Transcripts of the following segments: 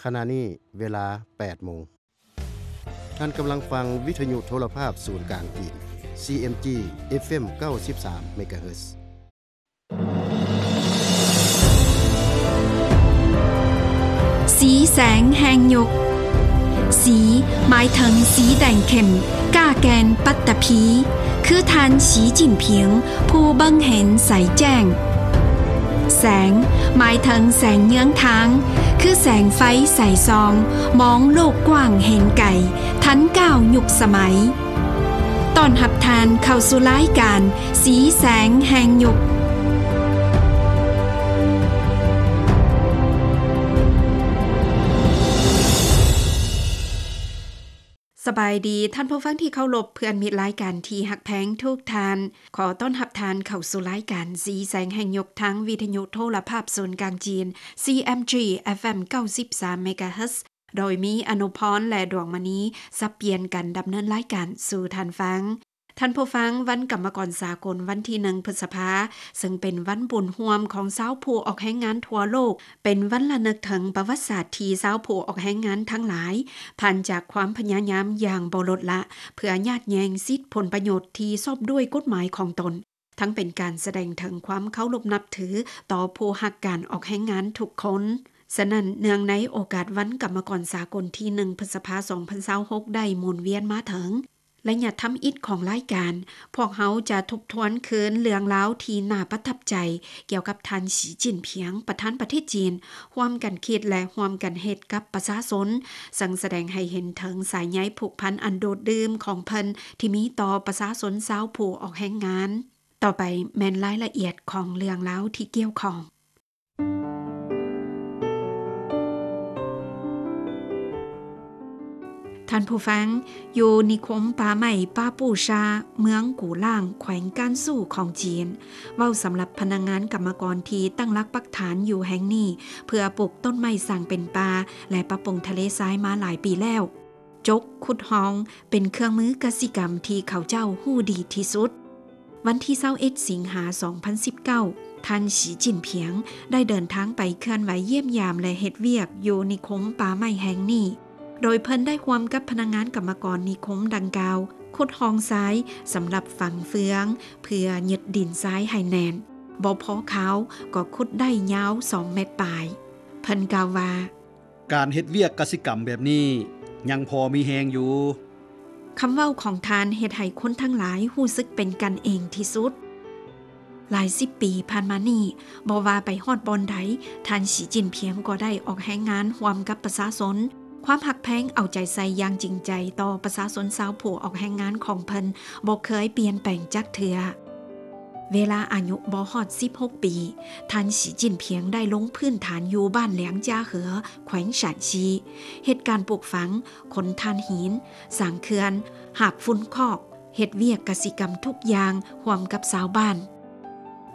ຂະນະນີ້ເວລາແປດໂມງ. ທ່ານກຳລັງຟັງວິທະຍຸໂທລະພາບສູນກາງຈີນ ຊີເອັມຈີ ເອັຟເອັມ ເກົ້າສິບສາມເມກາເຮີດ. ສີແສງແຫ່ງຍຸກ. ສີ ໝາຍເຖິງສີແດງເຂັ້ມ, ກ້າແກ່ນປັດຕະພີ, ຄືທ່ານ ສີຈິ້ນຜິງ ຜູ້ເບິ່ງເຫັນໃສແຈ້ງ. ແສງ ໝາຍເຖິງແສງເຍືອງທາງ, ຄືແສງໄຟໃສສ່ອງ, ມອງໂລກກວ້າງເຫັນໄກ, ທັນກ້າວຍຸກສະໄໝ. ຕ້ອນຮັບທ່ານເຂົ້າສູ່ລາຍການ ສີແສງແຫ່ງຍຸກ. ສະບາຍດີທ່ານຜູ້ຟັງທີ່ເຄົາລົບ, ເພື່ອນມິດລາຍການທີ່ຮັກແພງທຸກທ່ານ. ຂໍຕ້ອນຮັບທ່ານເຂົ້າສູ່ລາຍການສີແສງແຫ່ງຍຸກ ທາງວິທະຍຸໂທລະພາບສູນກາງຈີນ ຊີເອັມຈີ ເອັຟເອັມ ເກົ້າສິບສາມເມກາເຮີດ. ໂດຍມີອະນຸພອນ ແລະ ດວງມະນີ ສັບປ່ຽນກັນດຳເນີນລາຍການສູ່ທ່ານຟັງ. ທ່ານຜູ້ຟັງ, ວັນກຳມະກອນສາກົນວັນທີໜຶ່ງພຶດສະພາ ເຊິ່ງເປັນວັນບຸນຮ່ວມຂອງຊາວຜູ້ອອກແຮງງານທົ່ວໂລກ, ເປັນວັນລະນຶກເຖິງປະຫວັດສາດທີ່ຊາວຜູ້ອອກແຮງງານທັງຫຼາຍ ຜ່ານຈາກຄວາມພະຍາຍາມຢ່າງບໍ່ລົດລະ ເພື່ອຍາດແຍ່ງສິດຜົນປະໂຫຍດທີ່ຊອບດ້ວຍກົດໝາຍຂອງຕົນ. ທັງເປັນການສະແດງເຖິງຄວາມເຄົາລົບນັບຖືຕໍ່ຜູ້ຮັກການອອກແຮງງານທຸກຄົນ. ສະນັ້ນ, ເນື່ອງໃນໂອກາດວັນກຳມະກອນສາກົນທີໜຶ່ງ ພຶດສະພາ ສອງພັນຊາວຫົກ ໄດ້ໝູນວຽນມາເຖິງ, ໄລຍະທຳອິດຂອງລາຍການ, ພວກເຮົາຈະທົບທວນຄືນເລື່ອງລາວທີ່ໜ້າປະທັບໃຈ ກ່ຽວກັບທ່ານ ສີຈິ້ນຜິງ ປະທານປະເທດຈີນ, ຮ່ວມກັນຄິດ ແລະ ຮ່ວມກັນເຮັດກັບປະຊາຊົນ, ເຊິ່ງສະແດງໃຫ້ເຫັນເຖິງສາຍໃຍຜູກພັນອັນໂດດດື່ມຂອງເພິ່ນທີ່ມີຕໍ່ປະຊາຊົນຊາວຜູ້ອອກແຮງງານ. ຕໍ່ໄປແມ່ນລາຍລະອຽດຂອງເລື່ອງລາວທີ່ກ່ຽວຂ້ອງ. ທ່ານຜູ້ຟັງ, ຢູ່ນິຄົມປ່າໄມ້ປາປູຊາ ເມືອງກູ່ລ່າງ ແຂວງການຊູຂອງຈີນ, ເວົ້າສຳລັບພະນັກງານກຳມະກອນທີ່ຕັ້ງຫຼັກປັກຖານຢູ່ແຫ່ງນີ້ ເພື່ອປູກຕົ້ນໄມ້ສ້າງເປັນປ່າ ແລະ ປັບປຸງທະເລຊາຍມາຫຼາຍປີແລ້ວ. ຈົກ, ຂຸດຮ່ອງ ເປັນເຄື່ອງມືກະສິກຳທີ່ເຂົາເຈົ້າຮູ້ດີທີ່ສຸດ. ວັນທີຊາວເອັດ ສິງຫາ ສອງພັນສິບເກົ້າ, ທ່ານ ສີຈິ້ນຜິງ ໄດ້ເດີນທາງໄປເຄື່ອນໄຫວຢ້ຽມຢາມ ແລະ ເຮັດວຽກຢູ່ນິຄົມປ່າໄມ້ແຫ່ງນີ້, ໂດຍເພິ່ນໄດ້ຮ່ວມກັບພະນັກງານກຳມະກອນນິຄົມດັ່ງກ່າວ ຂຸດຮ່ອງຊາຍສຳລັບຝັງເຟືອງ ເພື່ອຍຶດດິນຊາຍໃຫ້ແໜ້ນ, ບໍ່ພໍຄາວກໍຂຸດໄດ້ຍາວສອງແມັດປາຍ. ເພິ່ນກ່າວວ່າ, ການເຮັດວຽກກະສິກຳແບບນີ້ຍັງພໍມີແຮງຢູ່. ຄຳເວົ້າຂອງທ່ານເຮັດໃຫ້ຄົນທັງຫຼາຍຮູ້ສຶກເປັນກັນເອງທີ່ສຸດ. ຫຼາຍສິບປີຜ່ານມານີ້, ບໍ່ວ່າໄປຮອດບ່ອນໃດ, ທ່ານ ສີຈິ້ນຜິງ ກໍໄດ້ອອກແຮງງານຮ່ວມກັບປະຊາຊົນ. ຄວາມຮັກແພງເອົາໃຈໃສ່ຢ່າງຈິງໃຈຕໍ່ປະຊາຊົນຊາວຜູ້ອອກແຮງງານຂອງເພິ່ນບໍ່ເຄີຍປ່ຽນແປງຈັກເທື່ອ. ເວລາອາຍຸບໍ່ຮອດສິບຫົກປີ, ທ່ານ ສີຈິ້ນຜິງ ໄດ້ລົງພື້ນຖານຢູ່ບ້ານແຫຼງຈາເຫີ ແຂວງຊານຊີ, ເຮັດການປູກຝັງ, ຂົນຖ່ານຫີນ, ສ້າງເຂື່ອນ, ຫາບຝຸ່ນຄອກ, ເຮັດວຽກກະສິກຳທຸກຢ່າງຮ່ວມກັບຊາວບ້ານ.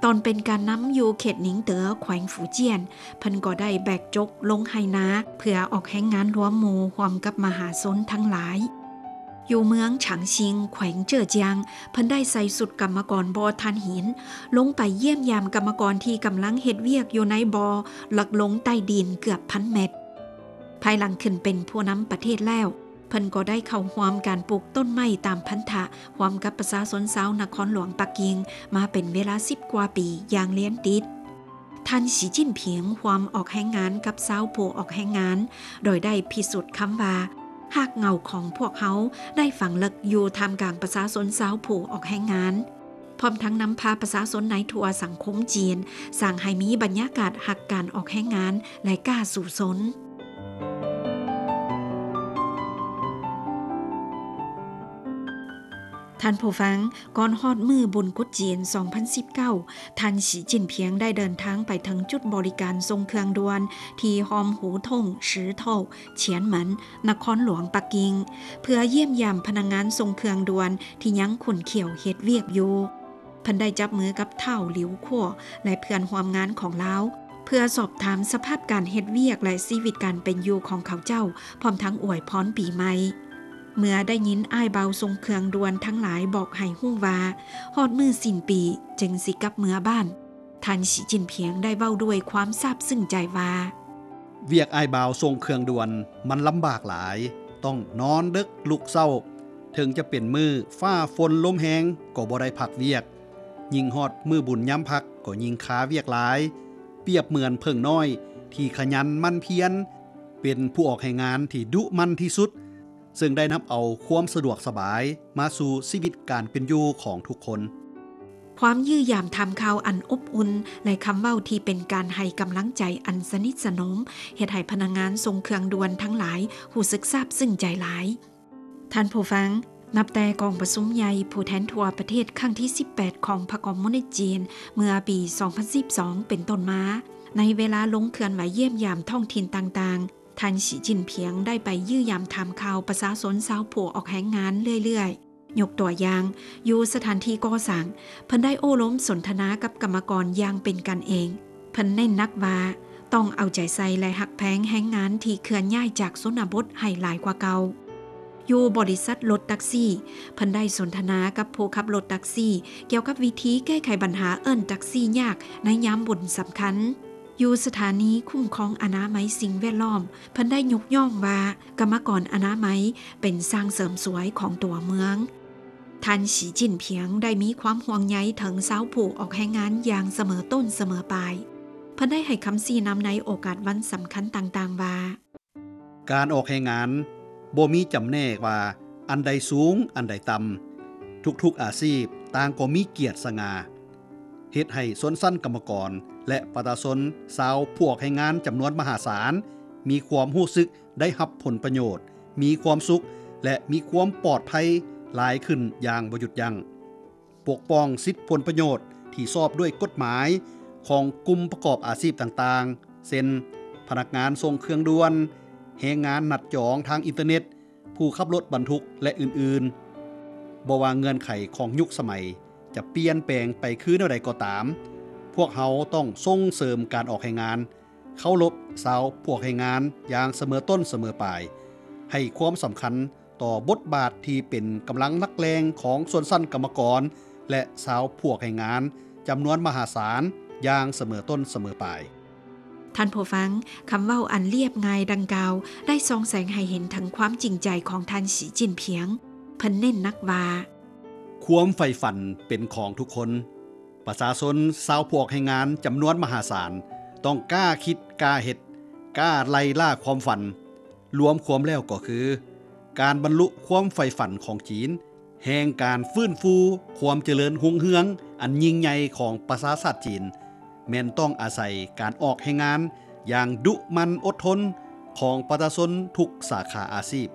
ຕອນເປັນການນຳຢູ່ເຂດໜິງເຕີ ແຂວງຟູຈຽນ, ເພິ່ນກໍໄດ້ແບກຈົກລົງໄຮ່ນາເພື່ອອອກແຮງງານລວມໝູ່ຮ່ວມກັບມະຫາຊົນທັງຫຼາຍ. ຢູ່ເມືອງຊາງຊິງ ແຂວງເຈີ້ອຈຽງ, ເພິ່ນໄດ້ໃສ່ຊຸດກຳມະກອນບໍ່ຖ່ານຫີນ ລົງໄປຢ້ຽມຢາມກຳມະກອນທີ່ກຳລັງເຮັດວຽກຢູ່ໃນບໍ່ເລິກລົງໃຕ້ດິນເກືອບພັນແມັດ. ພາຍຫຼັງຂຶ້ນເປັນຜູ້ນຳປະເທດແລ້ວ, ເພິ່ນກໍໄດ້ເຂົ້າຮ່ວມການປູກຕົ້ນໄມ້ຕາມພັນທະ ຮ່ວມກັບປະຊາຊົນຊາວນະຄອນຫຼວງປັກກິ່ງມາເປັນເວລາສິບກວ່າປີຢ່າງລຽນຕິດ. ທ່ານ ສີຈິ້ນຜິງ ຮ່ວມອອກແຮງງານກັບຊາວຜູ້ອອກແຮງງານ, ໂດຍໄດ້ພິສູດຄຳວ່າ ຮາກເຫງົ້າຂອງພວກເຮົາໄດ້ຝັງເລິກຢູ່ທ່າມກາງປະຊາຊົນຊາວຜູ້ອອກແຮງງານ, ພ້ອມທັງນຳພາປະຊາຊົນໃນທົ່ວສັງຄົມຈີນ ສ້າງໃຫ້ມີບັນຍາກາດຮັກການອອກແຮງງານ ແລະ ກ້າສູ້ຊົນ. ທ່ານຜູ້ຟັງ, ກ່ອນຮອດມື້ບຸນກຸດຈີນ ສອງພັນສິບເກົ້າ, ທ່ານ ສີຈິ້ນຜິງ ໄດ້ເດີນທາງໄປເຖິງຈຸດບໍລິການສົ່ງເຄື່ອງດ່ວນທີ່ຮ່ອມຫູທົ່ງ ຊືໂທ ຊຽນໝັນ ນະຄອນຫຼວງປັກກິ່ງ ເພື່ອຢ້ຽມຢາມພະນັກງານສົ່ງເຄື່ອງດ່ວນທີ່ຍັງຂຸ້ນຂ້ຽວເຮັດວຽກຢູ່. ເພິ່ນໄດ້ຈັບມືກັບທ້າວ ຫຼິວ ຂົວ ແລະ ເພື່ອນຮ່ວມງານຂອງລາວ ເພື່ອສອບຖາມສະພາບການເຮັດວຽກ ແລະ ຊີວິດການເປັນຢູ່ຂອງເຂົາເຈົ້າ, ພ້ອມທັງອວຍພອນປີໃໝ່. ເມື່ອໄດ້ຍິນອ້າຍບ່າວສົ່ງເຄື່ອງດ່ວນທັງຫຼາຍບອກໃຫ້ຮູ້ວ່າ ຮອດມື້ສິ້ນປີຈຶ່ງຊິກັບເມືອບ້ານ, ທ່ານ ສີຈິ້ນຜິງ ໄດ້ເວົ້າດ້ວຍຄວາມຊາບຊຶ້ງໃຈວ່າ, ວຽກອ້າຍບ່າວສົ່ງເຄື່ອງດ່ວນມັນລຳບາກຫຼາຍ, ຕ້ອງນອນເດິກລຸກເຊົ້າ, ເຖິງຈະເປັນມື້ຟ້າຝົນລົມແຮງກໍບໍ່ໄດ້ພັກວຽກ, ຍິ່ງຮອດມື້ບຸນຍາມພັກກໍຍິ່ງຄາວຽກຫຼາຍ, ປຽບເໝືອນເຜິ້ງນ້ອຍທີ່ຂະຫຍັນໝັ່ນພຽນ, ເປັນຜູ້ອອກແຮງງານທີ່ດຸໝັ່ນທີ່ສຸດ, ເຊິ່ງໄດ້ນຳເອົາຄວາມສະດວກສະບາຍມາສູ່ຊີວິດການເປັນຢູ່ຂອງທຸກຄົນ. ຄວາມຢ້ຽມຢາມຖາມຂ່າວອັນອົບອຸ່ນ ແລະ ຄຳເວົ້າທີ່ເປັນການໃຫ້ກຳລັງໃຈອັນສະໜິດສະໜົມ ເຮັດໃຫ້ພະນັກງານສົ່ງເຄື່ອງດ່ວນທັງຫຼາຍຮູ້ສຶກຊາບຊຶ້ງໃຈຫຼາຍ. ທ່ານຜູ້ຟັງ, ນັບແຕ່ກອງປະຊຸມໃຫຍ່ຜູ້ແທນທົ່ວປະເທດຄັ້ງທີສິບແປດຂອງພັກຄອມມູນິດຈີນ ເມື່ອປີສອງພັນສິບສອງເປັນຕົ້ນມາ, ໃນເວລາລົງເຄື່ອນໄຫວຢ້ຽມຢາມທ້ອງຖິ່ນຕ່າງໆ, ທ່ານ ສີ ຈິ້ນຜິງ ໄດ້ໄປຢ້ຽມຢາມຖາມຂ່າວປະຊາຊົນຊາວຜູ້ອອກແຮງງານເລື້ອຍໆ. ຍົກຕົວຢ່າງ, ຢູ່ສະຖານທີ່ກໍ່ສ້າງ, ເພິ່ນໄດ້ໂອ້ລົມສົນທະນາກັບກຳມະກອນຢ່າງເປັນກັນເອງ. ເພິ່ນເນັ້ນໜັກວ່າ ຕ້ອງເອົາໃຈໃສ່ ແລະ ຮັກແພງແຮງງານທີ່ເຄື່ອນຍ້າຍຈາກຊົນນະບົດໃຫ້ຫຼາຍກວ່າເກົ່າ. ຢູ່ບໍລິສັດລົດແທັກຊີ, ເພິ່ນໄດ້ສົນທະນາກັບຜູ້ຂັບລົດແທັກຊີ ກ່ຽວກັບວິທີແກ້ໄຂບັນຫາເອີ້ນແທັກຊີຍາກໃນຍາມບຸນສຳຄັນ. ຢູ່ສະຖານີຄຸ້ມຄອງອະນາໄມສິ່ງແວດລ້ອມ, ເພິ່ນໄດ້ຍົກຍ້ອງວ່າ ກຳມະກອນອະນາໄມເປັນຊ່າງເສີມສວຍຂອງຕົວເມືອງ. ທ່ານ ສີ ຈິ້ນຜິງ ໄດ້ມີຄວາມຫ່ວງໃຍເຖິງຊາວຜູ້ອອກແຮງງານຢ່າງສະເໝີຕົ້ນສະເໝີປາຍ. ເພິ່ນໄດ້ໃຫ້ຄຳຊີ້ນຳໃນໂອກາດວັນສຳຄັນຕ່າງໆວ່າ, ການອອກແຮງງານບໍ່ມີຈຳແນກວ່າອັນໃດສູງ ອັນໃດຕ່ຳ, ທຸກໆອາຊີບຕ່າງກໍມີກຽດສະຫງ່າ, ເຮັດໃຫ້ຊົນຊັ້ນກຳມະກອນ ແລະ ປະຊາຊົນຊາວຜູ້ອອກແຮງງານຈຳນວນມະຫາສານ ມີຄວາມຮູ້ສຶກ ໄດ້ຮັບຜົນປະໂຫຍດ, ມີຄວາມສຸກ ແລະ ມີຄວາມປອດໄພຫຼາຍຂຶ້ນຢ່າງບໍ່ຢຸດຢັ້ງ, ປົກປ້ອງສິດຜົນປະໂຫຍດທີ່ຊອບດ້ວຍກົດໝາຍຂອງກຸ່ມປະກອບອາຊີບຕ່າງໆ ເຊັ່ນ ພະນັກງານສົ່ງເຄື່ອງດ່ວນ, ແຮງງານນັດຈອງທາງອິນເຕີເນັດ, ຜູ້ຂັບລົດບັນທຸກ ແລະ ອື່ນໆ. ບໍ່ວ່າເງື່ອນໄຂຂອງຍຸກສະໄໝຈະປ່ຽນແປງໄປຄືແນວໃດກໍຕາມ, ພວກເຮົາຕ້ອງສົ່ງເສີມການອອກແຮງງານ, ເຄົາລົບຊາວຜູ້ອອກແຮງງານຢ່າງສະເໝີຕົ້ນສະເໝີປາຍ, ໃຫ້ຄວາມສຳຄັນຕໍ່ບົດບາດທີ່ເປັນກຳລັງຫຼັກແຫຼ່ງຂອງຊົນຊັ້ນກຳມະກອນ ແລະ ຊາວຜູ້ອອກແຮງງານຈຳນວນມະຫາສານຢ່າງສະເໝີຕົ້ນສະເໝີປາຍ. ທ່ານຜູ້ຟັງ, ຄຳເວົ້າອັນລຽບງ່າຍດັ່ງກ່າວ ໄດ້ສ່ອງແສງໃຫ້ເຫັນເຖິງຄວາມຈິງໃຈຂອງທ່ານ ສີ ຈິ້ນຜິງ. ເພິ່ນເນັ້ນໜັກວ່າ, ຄວາມໃຝ່ຝັນເປັນຂອງທຸກຄົນ. ປະຊາຊົນຊາວຜູ້ອອກແຮງງານຈຳນວນມະຫາສານ ຕ້ອງກ້າຄິດ, ກ້າເຮັດ, ກ້າໄລ່ລ່າຄວາມຝັນ. ລວມຄວາມແລ້ວກໍຄື ການບັນລຸຄວາມໃຝ່ຝັນຂອງຈີນ, ແຫ່ງການຟື້ນຟູຄວາມຈະເລີນຮຸ່ງເຮືອງອັນຍິ່ງໃຫຍ່ຂອງປະຊາຊາດຈີນ, ແມ່ນຕ້ອງອາໄສການອອກແຮງງານຢ່າງດຸໝັ່ນອົດທົນຂອງປະຊາຊົນທຸກສາຂາອາຊີບ.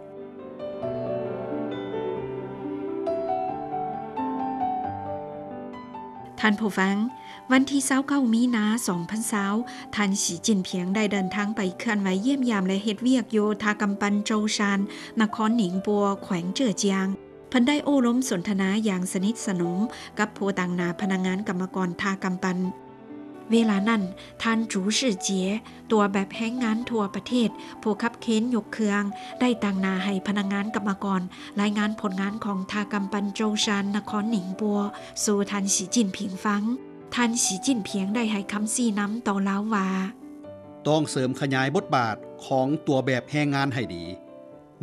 ທ່ານຜູ້ຟັງ, ວັນທີຊາວເກົ້າມີນາ ສອງພັນຊາວ, ທ່ານ ສີ ຈິ້ນຜິງ ໄດ້ເດີນທາງໄປເຄື່ອນໄຫວຢ້ຽມຢາມ ແລະ ເຮັດວຽກຢູ່ທ່າກຳປັ່ນໂຈຊານ, ນະຄອນໜິງປົວ, ແຂວງເຈີອຈຽງ. ເພິ່ນໄດ້ໂອ້ລົມສົນທະນາຢ່າງສະໜິດສະໜົມກັບຜູ້ຕາງໜ້າພະນັກງານກຳມະກອນທ່າກຳປັ່ນ. ເວລານັ້ນ, ທ່ານ ຈູຊື່ເຈຍ, ຕົວແບບແຮງງານທົ່ວປະເທດ, ຜູ້ຂັບເຄນຍົກເຄື່ອງ, ໄດ້ຕາງໜ້າໃຫ້ພະນັກງານກຳມະກອນລາຍງານຜົນງານຂອງທ່າກຳປັ່ນໂຈຊານ, ນະຄອນໜິງປົວ ສູ່ທ່ານ ສີ ຈິ້ນຜິງ ຟັງ. ທ່ານ ສີ ຈິ້ນຜິງ ໄດ້ໃຫ້ຄຳຊີ້ນຳຕໍ່ລາວວ່າ, ຕ້ອງເສີມຂະຫຍາຍບົດບາດຂອງຕົວແບບແຮງງານໃຫ້ດີ.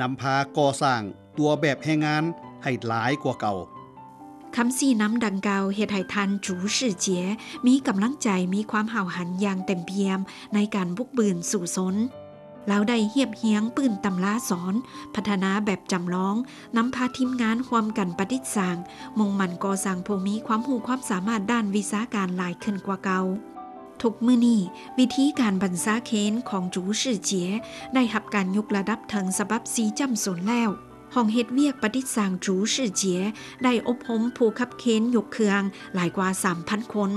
ນຳພາກໍ່ສ້າງຕົວແບບແຮງງານໃຫ້ຫຼາຍກວ່າເກົ່າ. ຄຳຊີ້ນຳດັ່ງກ່າວເຮັດໃຫ້ທ່ານ ຈູຊື່ເຈຍ ມີກຳລັງໃຈ, ມີຄວາມຫ້າວຫັນຢ່າງເຕັມປ່ຽມໃນການບຸກບືນສູ້ຊົນ. ລາວໄດ້ຮຽບຮຽງປຶ້ມຕຳລາສອນ, ພັດທະນາແບບຈຳລອງ, ນຳພາທີມງານຮ່ວມກັນປະດິດສ້າງ, ມຸ່ງໝັ້ນກໍ່ສ້າງຜູ້ມີຄວາມຮູ້ຄວາມສາມາດດ້ານວິຊາການຫຼາຍຂຶ້ນກວ່າເກົ່າ. ທຸກມື້ນີ້, ວິທີການບັນຊາເຄນຂອງ ຈູຊື່ເຈຍ ໄດ້ຮັບການຍົກລະດັບເຖິງສະບັບສີ່ຈ້ຳສູນແລ້ວ. ຫ້ອງເຮັດວຽກປະດິດສ້າງ ຈູຊື່ເຈຍ ໄດ້ອົບຮົມຜູ້ຂັບເຄນຍົກເຄື່ອງຫຼາຍກວ່າສາມພັນຄົນ.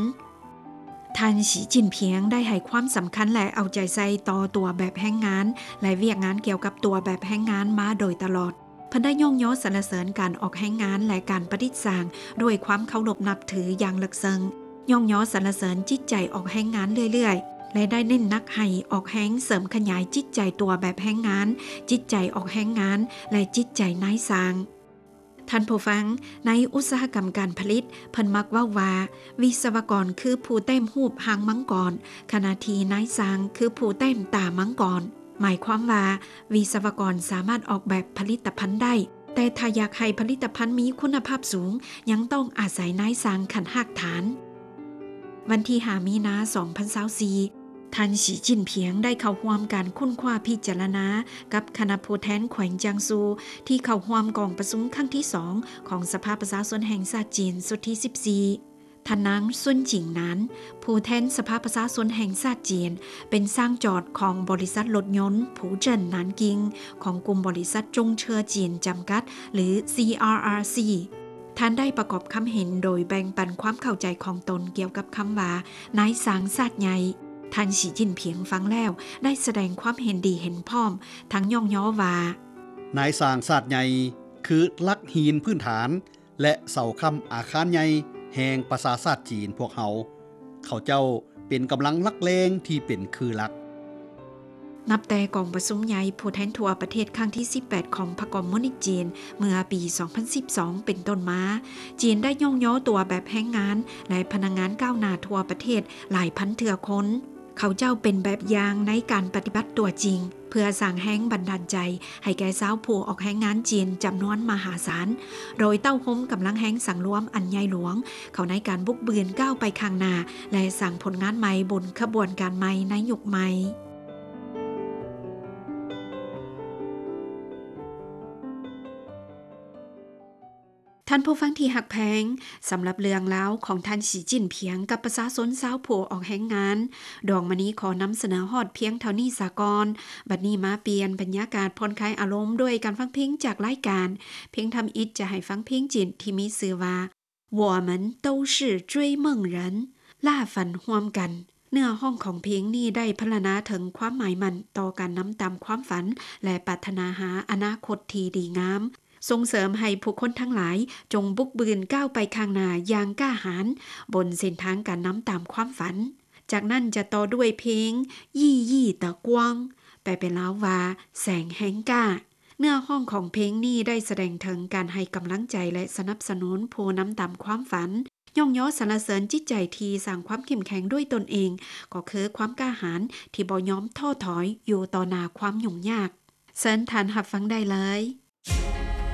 ທ່ານ ສີ ຈິ້ນຜິງ ໄດ້ໃຫ້ຄວາມສຳຄັນ ແລະ ເອົາໃຈໃສ່ຕໍ່ຕົວແບບແຮງງານ ແລະ ວຽກງານກ່ຽວກັບຕົວແບບແຮງງານມາໂດຍຕະຫຼອດ. ເພິ່ນໄດ້ຍ້ອງຍໍສັນລະເສີນການອອກແຮງງານ ແລະ ການປະດິດສ້າງດ້ວຍຄວາມເຄົາລົບນັບຖືຢ່າງເລິກເຊິ່ງ, ຍ້ອງຍໍສັນລະເສີນຈິດໃຈອອກແຮງງານເລື້ອຍໆ ແລະ ໄດ້ເນັ້ນໜັກໃຫ້ອອກແຮງເສີມຂະຫຍາຍຈິດໃຈຕົວແບບແຮງງານ, ຈິດໃຈອອກແຮງງານ ແລະ ຈິດໃຈນາຍສ້າງ. ທ່ ທ່ານຜູ້ຟັງ, ໃນອຸດສາຫະກຳການຜະລິດ, ເພິ່ນມັກເວົ້າວ່າ ວິສະວະກອນຄືຜູ້ແຕ້ມຮູບຫາງມັງກອນ, ຂະນະທີ່ນາຍຊ່າງຄືຜູ້ແຕ້ມຕາມັງກອນ. ໝາຍຄວາມວ່າ ວິສະວະກອນສາມາດອອກແບບຜະລິດຕະພັນໄດ້, ແຕ່ຖ້າຢາກໃຫ້ຜະລິດຕະພັນມີຄຸນນະພາບສູງ, ຍັງຕ້ອງອາໄສນາຍຊ່າງຂັ້ນຮາກຖານ. ວັນທີຫ້າ ມີນາ ສອງພັນຊາວສີ່, ທ່ານ ສີຈິ້ນຜິງ ໄດ້ເຂົ້າຮ່ວມການຄົ້ນຄວ້າພິຈາລະນາກັບຄະນະຜູ້ແທນແຂວງຈຽງຊູ ທີ່ເຂົ້າຮ່ວມກອງປະຊຸມຄັ້ງທີສອງ ຂອງສະພາປະຊາຊົນແຫ່ງຊາດຈີນ ຊຸດທີສິບສີ່. ທ່ານນາງ ຊຸນຈິງນານ ຜູ້ແທນສະພາປະຊາຊົນແຫ່ງຊາດຈີນ, ເປັນຊ່າງຈອດຂອງບໍລິສັດລົດຍົນ ພູເຈິນ ນານກິງ ຂອງກຸ່ມບໍລິສັດ ຈົງເຊີ ຈີນ ຈຳກັດ ຫຼື ຊີອາອາຊີ. ທ່ານໄດ້ປະກອບຄຳເຫັນໂດຍແບ່ງປັນຄວາມເຂົ້າໃຈຂອງຕົນກ່ຽວກັບຄຳວ່າ ນາຍຊ່າງຊາດໃຫຍ່. ທ່ານ ສີຈິ້ນຜິງ ຟັງແລ້ວໄດ້ສະແດງຄວາມເຫັນດີເຫັນພ້ອມ, ທັງຍ້ອງຍໍວ່າ ນາຍຊ່າງຊາດໃຫຍ່ຄືຫຼັກຫີນພື້ນຖານ ແລະ ເສົາຄ້ຳອາຄານໃຫຍ່ແຫ່ງປະຊາຊາດຈີນພວກເຮົາ. ເຂົາເຈົ້າເປັນກຳລັງຫຼັກແຫຼ່ງທີ່ເປັນຄືຫຼັກ. ນັບແຕ່ກອງປະຊຸມໃຫຍ່ຜູ້ແທນທົ່ວປະເທດຄັ້ງທີສິບແປດ ຂອງພັກຄອມມູນິດຈີນ ເມື່ອປີສອງພັນສິບສອງເປັນຕົ້ນມາ, ຈີນໄດ້ຍ້ອງຍໍຕົວແບບແຮງງານ ແລະ ພະນັກງານກ້າວໜ້າທົ່ວປະເທດຫຼາຍພັນເທື່ອຄົນ. ເຂົາເຈົ້າເປັນແບບຢ່າງໃນການປະຕິບັດຕົວຈິງ ເພື່ອສ້າງແຮງບັນດານໃຈໃຫ້ແກ່ຊາວຜູ້ອອກແຮງງານຈີນຈຳນວນມະຫາສານ, ໂດຍເຕົ້າໂຮມກຳລັງແຮງສັງລວມອັນໃຫຍ່ຫຼວງ ເຂົ້າໃນການບຸກບືນກ້າວໄປຂ້າງໜ້າ ແລະ ສ້າງຜົນງານໃໝ່ບົນຂະບວນການໃໝ່ໃນຍຸກໃໝ່. ທ່ານຜູ້ຟັງທີ່ຮັກແພງ, ສຳລັບເລື່ອງລາວຂອງທ່ານ ສີຈິ້ນຜິງ ກັບປະຊາຊົນຊາວຜູ້ອອກແຮງງານ, ດວງມະນີຂໍນຳສະເໜີຮອດພຽງເທົ່ານີ້ສາກ່ອນ. ບັດນີ້ມາປ່ຽນບັນຍາກາດຜ່ອນຄາຍອາລົມດ້ວຍການຟັງເພງຈາກລາຍການ. ເພງທຳອິດຈະໃຫ້ຟັງເພງຈີນທີ່ມີຊື່ວ່າ 我们都是追梦人, ລ່າຝັນຮ່ວມກັນ. ເນື້ອຮ້ອງຂອງເພງນີ້ໄດ້ພັນລະນາເຖິງຄວາມໝາຍໝັ້ນຕໍ່ການນຳຕາມຄວາມຝັນ ແລະ ປາດຖະໜາຫາອະນາຄົດທີ່ດີງາມ, ສົ່ງເສີມໃຫ້ຜູ້ຄົນທັງຫຼາຍຈົ່ງບຸກບືນກ້າວໄປຂ້າງໜ້າຢ່າງກ້າຫານ ບົນເສັ້ນທາງການນຳຕາມຄວາມຝັນ. ຈາກນັ້ນຈະຕໍ່ດ້ວຍເພງ ยี่ยี่ตะกวง ແປເປັນລາວວ່າ ແສງແຫ່งกล้า. ເນື້ອຮ້ອງຂອງເພງນີ້ໄດ້ສະແດງເຖິງການໃຫ້ກຳລັງໃຈ ແລະ ສະໜັບສະໜູນຜູ້ນຳຕາມຄວາມຝັນ, ຍ້ອງຍໍສັນລະເສີນຈິດໃຈທີ່ສ້າງຄວາມເຂັ້ມແຂງດ້ວຍຕົນເອງ, ກໍຄືຄວາມກ້າຫານທີ່ບໍ່ຍອມທໍ້ຖອຍຢູ່ຕໍ່ໜ້າຄວາມຫຍຸ້ງຍາກ. ເຊີນທ່ານຮັບຟັງໄດ້ເລີຍ.